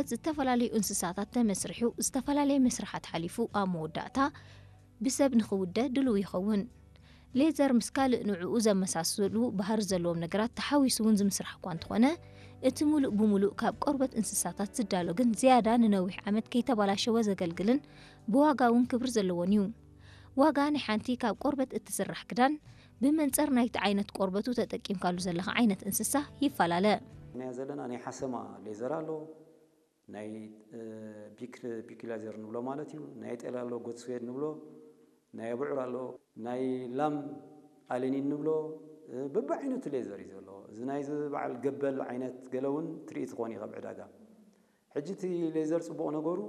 ዝተፈላለዩ እንስሳታት ተመስሪሑ ዝተፈላለየ መስርሓት ሓሊፉ ኣብ መወዳእታ ብሰብ ንኽውደ ድሉው ይኸውን። ሌዘር ምስ ካልእ ንዕኡ ዘመሳስሉ ባህሪ ዘለዎም ነገራት ተሓዊሱ እውን ዝምስራሕ እኳ እንተኾነ፣ እቲ ሙሉእ ብሙሉእ ካብ ቆርበት እንስሳታት ዝዳሎ ግን ዝያዳ ንነዊሕ ዓመት ከይተባላሸወ ዘገልግልን ብዋጋ እውን ክብሪ ዘለዎን እዩ። ዋጋ ናይ ሓንቲ ካብ ቆርበት እትስራሕ ክዳን ብመንጽር ናይቲ ዓይነት ቆርበቱ ተጠቂምካሉ ዘለኻ ዓይነት እንስሳ ይፈላለ። ናይ ዘለና ናይ ሓሰማ ሌዘር ኣሎ፣ ናይ ፒክ ፒክ ሌዘር ንብሎ ማለት እዩ። ናይ ጤል ኣሎ፣ ጎት ስዌድ ንብሎ፣ ናይ ኣቡዑር ኣሎ፣ ናይ ላም ኣለኒን ንብሎ፣ በብዓይነቱ ሌዘር እዩ ዘሎ። እዚ ናይዚ በዓል ገበል ዓይነት ገለ እውን ትርኢ ትኾን ኢኻ ኣብ ዕዳጋ። ሕጂ እቲ ሌዘር ጽቡቕ ነገሩ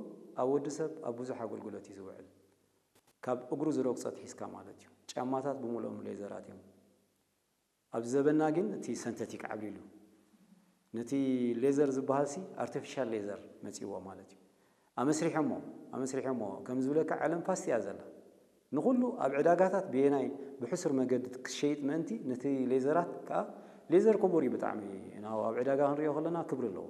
ኣብ ወዲ ሰብ ኣብ ብዙሕ ኣገልግሎት እዩ ዝውዕል። ካብ እግሩ ዝረግጾ ትሒዝካ ማለት እዩ። ጫማታት ብምልኦም ሌዘራት እዮም። ኣብዚ ዘበና ግን እቲ ሰንተቲክ ዓብሊሉ ነቲ ሌዘር ዝበሃል ሲ ኣርቲፊሻል ሌዘር መጺዎ ማለት እዩ። ኣመስሪሖሞ ኣመስሪሖሞ ከም ዝብለካ ዓለም ፋስት እያ ዘላ። ንኹሉ ኣብ ዕዳጋታት ብየናይ ብሕሱር መገዲ ክሸይጥ ምእንቲ ነቲ ሌዘራት ከዓ ሌዘር ክቡር እዩ ብጣዕሚ። ናብ ኣብ ዕዳጋ ክንሪኦ ከለና ክብሪ ኣለዎ።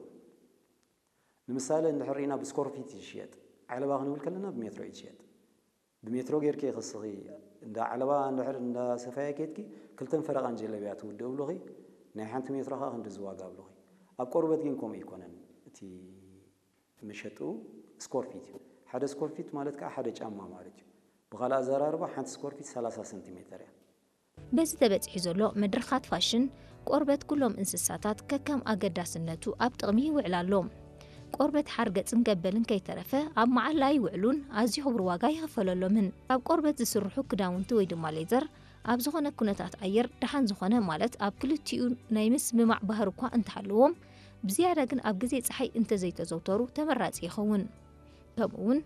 ንምሳሌ እንድሕር ርኢና ብስኮርፊት እዩ ዝሽየጥ። ዓለባ ክንብል ከለና ብሜትሮ እዩ ዝሽየጥ። ብሜትሮ ጌርኪ ክስኺ እንዳ ዓለባ እንድሕር እንዳ ሰፋየ ኬድኪ ክልተን ፈረቓን ጀለብያ ትውድእ ብሉኺ። ናይ ሓንቲ ሜትሮ ከዓ ክንዲ ዝዋጋ ብሉኺ። ኣብ ቆርበት ግን ከምኡ ኣይኮነን። እቲ መሸጡ ስኮርፊት እዩ። ሓደ ስኮርፊት ማለት ከዓ ሓደ ጫማ ማለት እዩ። ብኻልእ ኣዘራርባ ሓንቲ ስኮርፊት ሰላሳ ሰንቲሜተር እያ። በዚ ተበጺሑ ዘሎ መድረኻት ፋሽን፣ ቆርበት ኩሎም እንስሳታት ከከም ኣገዳስነቱ ኣብ ጥቕሚ ይውዕል ኣሎ። ቆርበት ሓርገጽን ገበልን ከይተረፈ ኣብ መዓላ ይውዕሉን ኣዝዩ ክቡር ዋጋ ይኽፈለሎምን። ካብ ቆርበት ዝስርሑ ክዳውንቲ ወይ ድማ ሌዘር ኣብ ዝኾነ ኩነታት ኣየር ደሓን ዝኾነ ማለት ኣብ ክልቲኡ ናይ ምስምማዕ ባህሪ እኳ እንተሃለዎም፣ ብዝያዳ ግን ኣብ ግዜ ጸሓይ እንተዘይተዘውተሩ ተመራጺ ይኸውን። ከምኡውን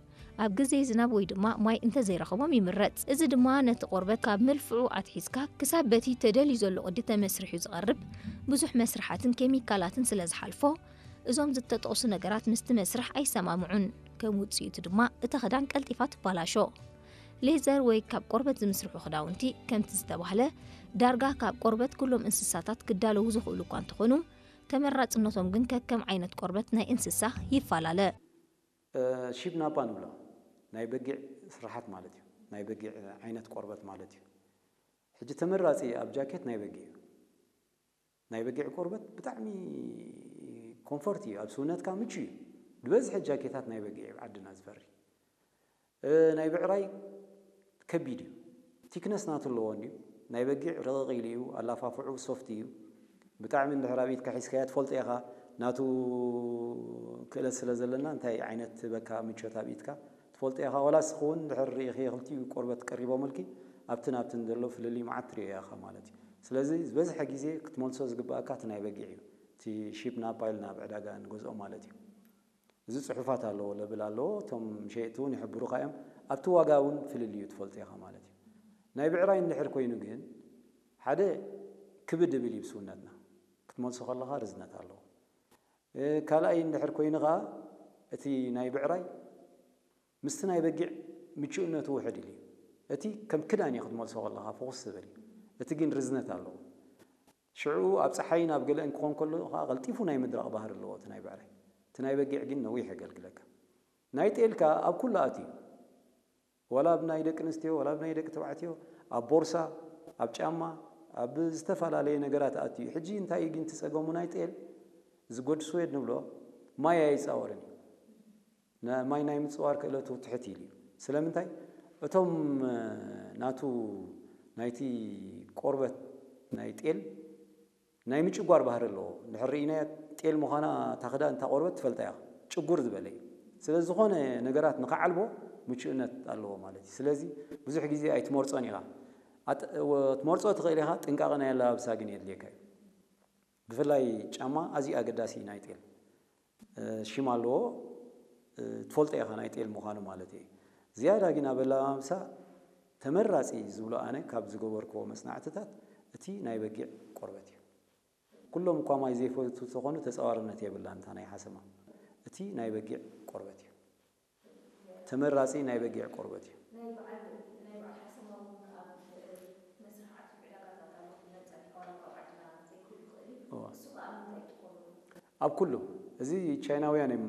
ኣብ ግዜ ዝናብ ወይ ድማ ማይ እንተዘይረኸቦም ይምረጽ። እዚ ድማ ነቲ ቆርበት ካብ መልፍዑ ኣትሒዝካ ክሳብ በቲ ተደልዩ ዘሎ ቅዲ ተመስሪሑ ዝቐርብ ብዙሕ መስርሓትን ኬሚካላትን ስለ ዝሓልፎ፣ እዞም ዝተጠቕሱ ነገራት ምስቲ መስርሕ ኣይሰማምዑን። ከም ውጽኢቱ ድማ እታ ክዳን ቀልጢፋ ትባላሾ። ሌዘር ወይ ካብ ቆርበት ዝምስርሑ ክዳውንቲ ከምቲ ዝተባህለ ዳርጋ ካብ ቆርበት ኩሎም እንስሳታት ክዳለዉ ዝኽእሉ እኳ እንተኾኑ፣ ተመራጽነቶም ግን ከከም ዓይነት ቆርበት ናይ እንስሳ ይፈላለ። ሺፕ ናፓ ንብሎ ናይ በጊዕ ስርሓት ማለት እዩ። ናይ በጊዕ ዓይነት ቆርበት ማለት እዩ። ሕጂ ተመራጺ ኣብ ጃኬት ናይ በጊዕ እዩ። ናይ በጊዕ ቆርበት ብጣዕሚ ኮምፎርት እዩ፣ ኣብ ስውነትካ ምቹ እዩ። ዝበዝሐ ጃኬታት ናይ በጊዕ እዩ ዓድና ዝፈሪ። ናይ ብዕራይ ከቢድ እዩ። ቲክነስ ናቱ ኣለዎ እንድዩ። ናይ በጊዕ ረቕቕ ኢሉ እዩ፣ ኣላፋፍዑ ሶፍት እዩ። ብጣዕሚ እንድሕር ኣብ ኢድካ ሒዝካያ ትፈልጦ ኢኻ፣ ናቱ ክእለት ስለ ዘለና እንታይ ዓይነት በካ ምቾት ኣብ ኢድካ ትፈልጦ ኢኻ። ዋላ እስኺ እውን እንድሕር ርኢኺ ክልቲኡ ቆርበት ቀሪቦምልኪ ኣብትን ኣብትን ዘሎ ፍልልይ መዓት ትርእዮ ኢኻ ማለት እዩ። ስለዚ ዝበዝሐ ግዜ ክትመልሶ ዝግባኣካ እቲ ናይ በጊዕ እዩ። እቲ ሺፕ ናፓ ኢልና ኣብ ዕዳጋ ንገዝኦ ማለት እዩ። እዚ ጽሑፋት ኣለዎ፣ ለብል ኣለዎ። እቶም ሸየጥቲ እውን ይሕብሩኻ እዮም። ኣብቲ ዋጋ እውን ፍልልዩ ትፈልጦ ኢኻ ማለት እዩ። ናይ ብዕራይ እንድሕር ኮይኑ ግን ሓደ ክብድ እብል እዩ ብስውነትና ክትመልሶ ከለኻ ርዝነት ኣለዎ። ካልኣይ እንድሕር ኮይኑ ኸዓ እቲ ናይ ብዕራይ ምስቲ ናይ በጊዕ ምቹእነቱ ውሕድ ኢሉ እዩ። እቲ ከም ክዳን እዩ ክትመልሶ ከለኻ ፍኹስ ዝብል እዩ። እቲ ግን ርዝነት ኣለዎ። ሽዑ ኣብ ጸሓይን ኣብ ገለእን ክኾን ከሎ ኸዓ ቀልጢፉ ናይ ምድራቕ ባህሪ ኣለዎ እቲ ናይ ብዕራይ። እቲ ናይ በጊዕ ግን ነዊሕ የገልግለካ። ናይ ጤል ከኣ ኣብ ኩሉ ኣትዩ። ዋላ ኣብ ናይ ደቂ ኣንስትዮ፣ ዋላ ኣብ ናይ ደቂ ተባዕትዮ፣ ኣብ ቦርሳ፣ ኣብ ጫማ፣ ኣብ ዝተፈላለየ ነገራት ኣትዩ። ሕጂ እንታይ እዩ ግን እቲ ጸገሙ ናይ ጤል? እዚ ጎድ ስዌድ ንብሎ ማይ ኣይጻወርን እዩ። ማይ ናይ ምጽዋር ክእለቱ ትሕት ኢሉ እዩ። ስለምንታይ? እቶም ናቱ ናይቲ ቆርበት ናይ ጤል ናይ ምጭጓር ባህሪ ኣለዎ። እንድሕር ርኢናያ ጤል ምዃና እታ ክዳን እታ ቆርበት ትፈልጣ ኢኻ። ጭጉር ዝበለ እዩ። ስለ ዝኾነ ነገራት ንኽዓልቦ ምቹእነት ኣለዎ ማለት እዩ። ስለዚ ብዙሕ ግዜ ኣይትመርጾን ኢኻ። ኣጥ- ወ- ትመርጾ ትኽእል ኢኻ፣ ጥንቃቐ ናይ ኣለባብሳ ግን የድልየካ እዩ። ብፍላይ ጫማ ኣዝዩ ኣገዳሲ እዩ ናይ ጤል። ሽም ኣለዎ፣ ትፈልጦ ኢኻ ናይ ጤል ምዃኑ ማለት እዩ። ዝያዳ ግን ኣብ ኣለባብሳ ተመራጺ ዝብሎ ኣነ ካብ ዝገበርክዎ መጽናዕትታት እቲ ናይ በጊዕ ቆርበት እዩ። ኩሎም እኳ ማይ ዘይፈቱ ተኾኑ ተጻዋርነት የብላን እታ ናይ ሓሰማ። እቲ ናይ በጊዕ ቆርበት እዩ። ተመራጺ ናይ በጊዕ ቆርበት እዩ። ኣብ ኩሉ እዚ ቻይናውያን እዮም